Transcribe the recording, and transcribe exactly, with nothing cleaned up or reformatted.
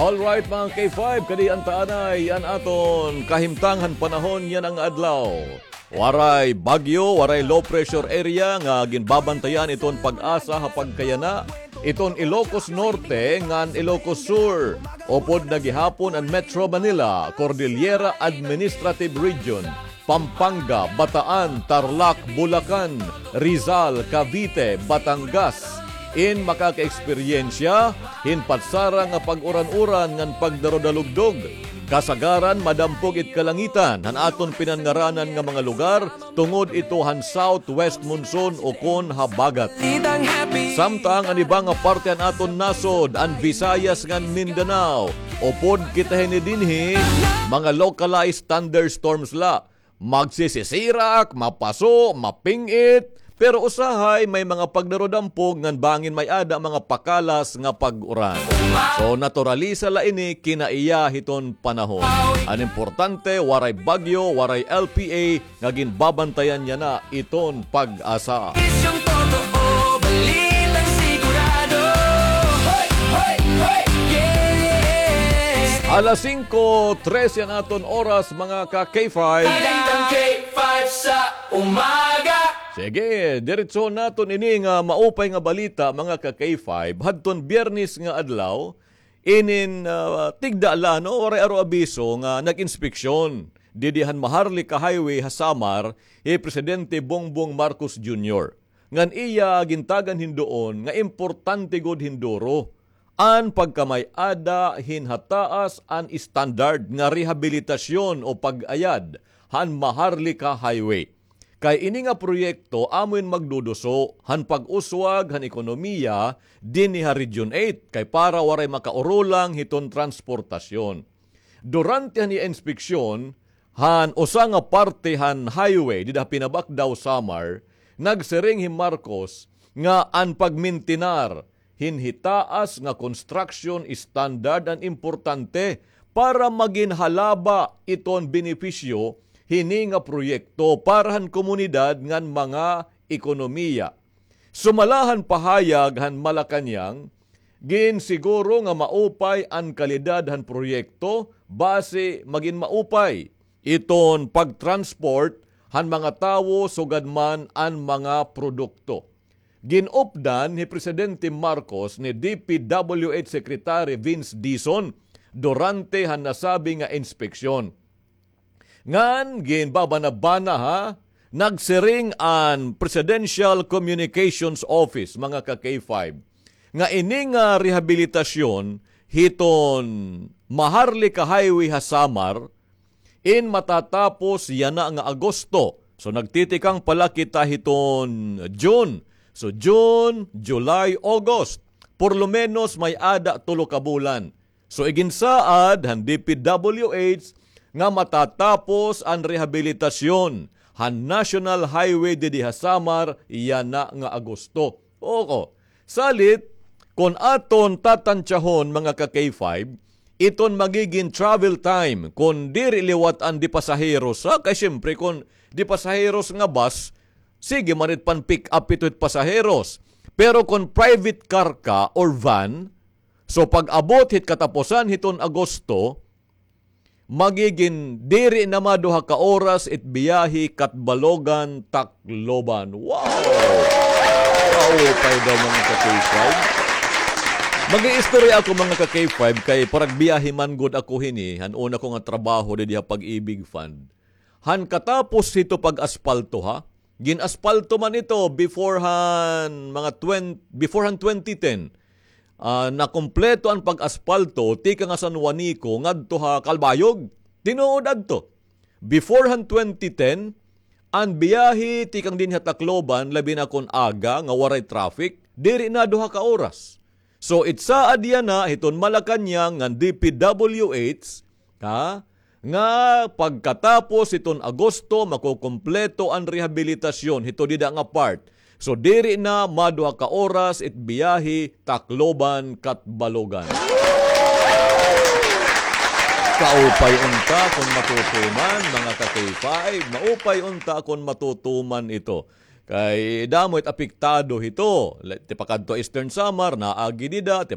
Alright, mga K five, kadi an taanay an aton kahimtang han panahon yana nga adlaw. Waray bagyo, waray low pressure area nga ginbabantayan iton PAGASA ha pagkayana iton Ilocos Norte ngan Ilocos Sur. Upod na gihapon an Metro Manila, Cordillera Administrative Region, Pampanga, Bataan, Tarlac, Bulacan, Rizal, Cavite, Batangas, in makakaeksperyensya hin patsara nga pag-uran-uran ngan pagdarudalugdog. Kasagaran madampog it kalangitan han aton pinanngaranan nga mga lugar tungod ito han southwest monsoon ukon habagat. Samtang an iba nga parte han aton nasod, an Visayas ngan Mindanao, upod kita hini dinhi, mga localized thunderstorms la. Magsisisirak, mapaso, maping-it, pero usahay may mga pagdarudampog ngan bangin may-ada mga pakalas nga pag-uran. So, naturalisa la ini, kinaiya hiton panahon. An importante, waray bagyo, waray L P A nga ginbabantayan yana iton PAGASA. Isyong totoo, balitang sigurado. Hoy, hoy, hoy, yes. Alas singko trese an aton oras, mga ka-K five. Balitang K five sa umaga. Sige, diretso naton ini nga maupay nga balita, mga ka-K five. Hadton Biyernes nga adlaw, inin, ah, tigda la, no, waray aro abiso nga nag-inspeksyon didi han Maharlika Highway ha Samar hi Presidente Bongbong Marcos Junior. Ngan iya gintagan hin duon nga importante gud hinduro an pagkamay-ada hin hataas an standard nga rehabilitasyon o pag-ayad han Maharlika Highway. Kay ini nga proyekto amo in magduduso han pag-uswag han ekonomiya dinhi ha Region eight, kay para waray makaurulang hiton transportasyon. Durante han iya inspeksyon han usa nga parte han highway dida ha Pinabacdao, Samar, nagsiring hi Marcos nga an pagmintinar hin hitaas nga construction standard an importante para magin halaba iton benepisyo hini nga proyekto para han komunidad ngan mga ekonomiya. Sumala han pahayag han Malacañang, ginsiguro nga maupay an kalidad han proyekto basi magin maupay iton pag-transport han mga tawo sugad man an mga produkto. Gin-updan hi Presidente Marcos ni D P W H Secretary Vince Dizon durante han nasabi nga inspeksyon. Ngan ginbabanabana, ha, nagsiring an Presidential Communications Office, mga ka-K five, nga ini nga rehabilitasyon hiton Maharlika Highway ha Samar in matatapos yana nga Agosto. So, nagtitikang pala kita hiton June. So, June, July, August. Por lo menos may-ada tulo ka bulan. So, iginsaad han D P W H nga matatapos an rehabilitasyon han National Highway didi ha Samar yana nga Agosto. Oo. Salit, kon aton tatantsahon, mga ka-K five, iton magigin travel time kon diri liwat an de pasaheros, ha? Kay siyempre, kon de pasaheros nga bus, sige man it pan-pick up ito it pasaheros. Pero kon private car ka or van, so pag-abot hit katapusan hiton Agosto, magigin diri na maduha ka oras it biyahe Catbalogan, Tacloban. Wow! Kaupay daw, mga ka-K five. Mag-iistorya ako, mga ka-K five, kay paragbiyahe man gud ako hini, han una ko nga trabaho didi ha Pag-ibig Fund. Han katapos hito pag-aspalto, ha? Gin-aspalto man ito before han mga twen-, before han twenty ten. Ah, nakumpleto an pag-aspalto tikang ha San Juanico ngadto ha Calbayog. Tinuod adto. Before han twenty ten, an biyahe tikang dinhi ha Tacloban, labi na kon aga nga waray traffic, diri na duha ka oras. So, it saad yana hiton Malacañang ngan D P W H, ha, nga pagkatapos hiton Agosto, makukumpleto an rehabilitasyon hito dida nga part. So, diri na maduha ka oras it biyahe Tacloban, Catbalogan. Kaupay unta kon matutuman, mga ka-K five. Maupay unta kon matutuman ito. Kay damo it apektado hito. Tipakadto Eastern Samar, naagi dida,